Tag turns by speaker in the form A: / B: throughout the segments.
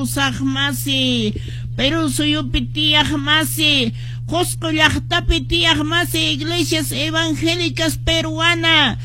A: kawsaq masi, Perú suyupi tiyaq masi, Qusqu llaqtapi tiyaq masi, iglesias evangélicas peruana,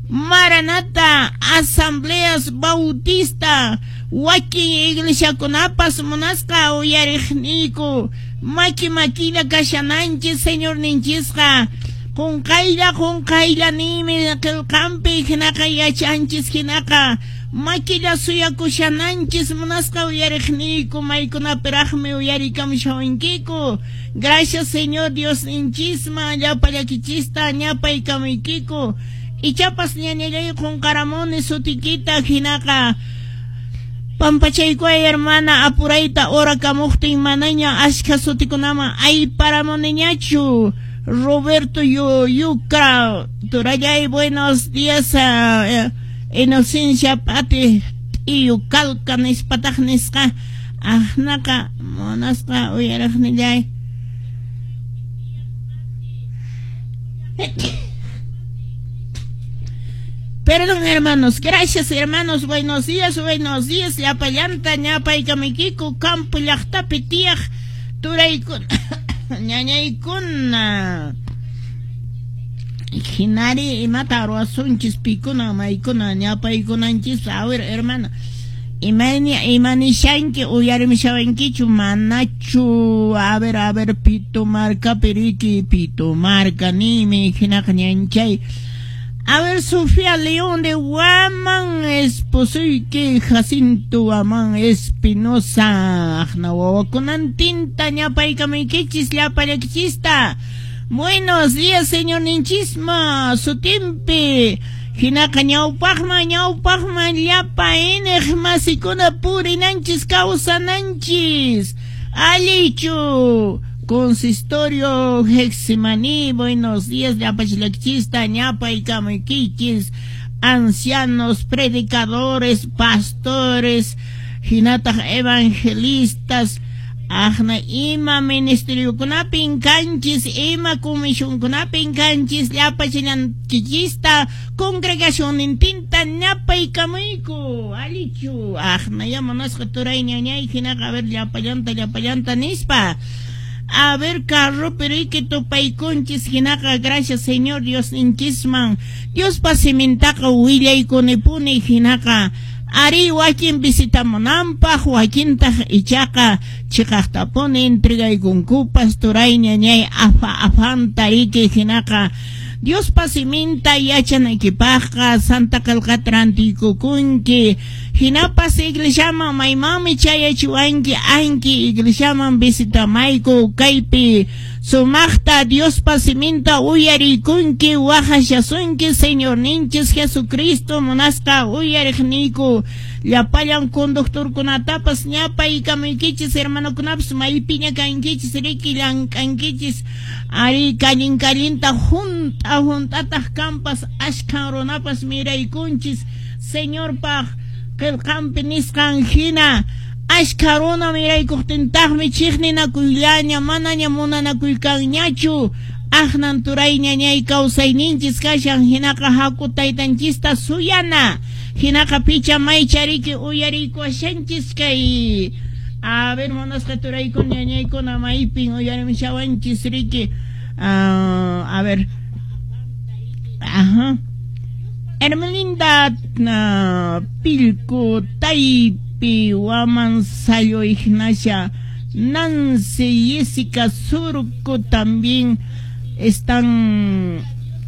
A: Maranata, asambleas bautista, wakin iglesiakunapas munasqa uyariqniyku, maki makilla kashananchis Señorninchisqa, qunqaylla qunqaylla ninmi qillqanpi hinaqa yachanchis hinaqa makilla suyakushananchis munasqa uyariqniyku maykunapiraqmi uyarikamushawankiku. Gracias Señor Diosninchisman llapallakichistan ñapaykamuykiku. Ichapas ñañallay qunqaramuni sutikita hinaqa pampachaykuay hermana apurayta orakamuqtin manaña ashkha sutikunaman ayparamuniñachu. Roberto Yucra turallay buenos días Inocencia Pati T'iyu Kalka nispataq nisqa aqnaqa munasqa uyariqnillay. Perdón, hermanos. Gracias, hermanos. Buenos días, buenos días. Llapallanta ñapaykamaykiku campo llaqtapi tiyaq turaykuna ñañaykuna. Hinari imata ruwasunchis pikuna maykuna ñapaykunanchis. A ver, hermana. Imayna imanishanki uyarimishawankichu manachu. A ver, Pito markapi riki, Pito marka nimi hinaqa ñanchay. A ver, Sofía León de Guaman, esposoyki Jacinto Guaman Espinosa, aqna wawakunantinta ñapaykamaykichis llapallakichista. Buenos días, señor ninchisma, sutimpi. Hinaqa ñawpaqman ñawpaqman llapa iñiq masikuna purinanchis kawsananchis. Allichu. Consistorio Getsemaní, buenos días, llapachilakchista, ñapaykamaykichis, ancianos, predicadores, pastores, hinataq evangelistas, aqna ima ministeriokunapin kanchis, ima comisionkunapin kanchis, llapachillankichista, congregacionnintinta ñapaykamayku, allichu, aqna ya munasqa turay ñañay, hinaqa a ver llapallanta, llapallanta nispa. A ver, carropi riki tupaykunchis hinaqa gracias Señor Dios ninchisman. Diospa simintaqa willaykunipuni hinaqa ari wakin visitamunanpaq wakintaq ichaqa chiqaqtapuni entregaykunkupas turay ñañay afa afanta riki hinaqa Diospa siminta yachanaykipaqqa Santa Qillqata rantiykukunki hinapas iglesiaman maymanmi chayachiwanki anki iglesiaman visitamayku kaypi sumaqta Diospa siminta uyariykunki waqashasunki Señorninchis Jesucristo munasqa uyariqniyku llapallan conductorkunatapas ñapaykamuykichis hermanokunapas maypiña kankichis riki llank'ankichis ari kallin kallinta junta juntataq kampas ashkhan runapas miraykunchis Señorpaq qillqanpi nisqan hina ashkha runa miraykuqtintaqmi chiqninakuyllaña manaña munanakuykanñachu aqnan turay ñañay kawsayninchis kashan hinaqa haku taytanchista suyana hinaqa picha maychariki uyariykuwashanchis kay a ver munasqa turaykuna ñañaykuna maypin uyarimishawanchis riki a ver ajá Hermelinda Pilco Taypi Waman Sayo Ignacia Nancy Jessica Surco también están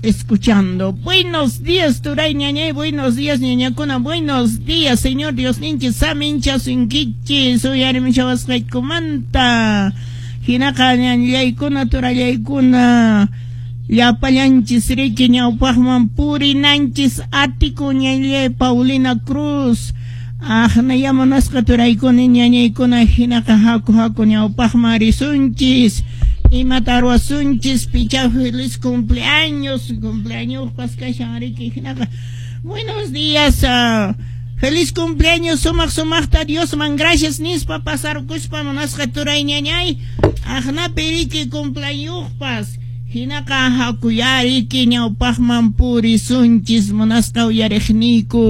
A: escuchando. Buenos días, turay ñañay, buenos días, ñañakuna, buenos días, Señor Dios ninchis, samincha sunkichis, uyarimishawasqaykumanta, hinaqa ñañaykuna, turallaykuna, llapallanchis riki ñawpaqman purinanchis atiku ñañay Paulina Cruz, aqna munasqa turaykuna ñañaykuna, hinaqa haku haku ñawpaqman risunchis. Imata ruwasunchis picha feliz cumpleaños, cumpleaños kashan riki hinaqa. Buenos días, feliz cumpleaños, sumaq sumaqta Diosman gracias nispa pasarkuspa munasqa turay ñañay, aqnapi riki cumpleañospas hinaqa hakuyariki ñawpaqman purisunchis munasqa uyariqniyku.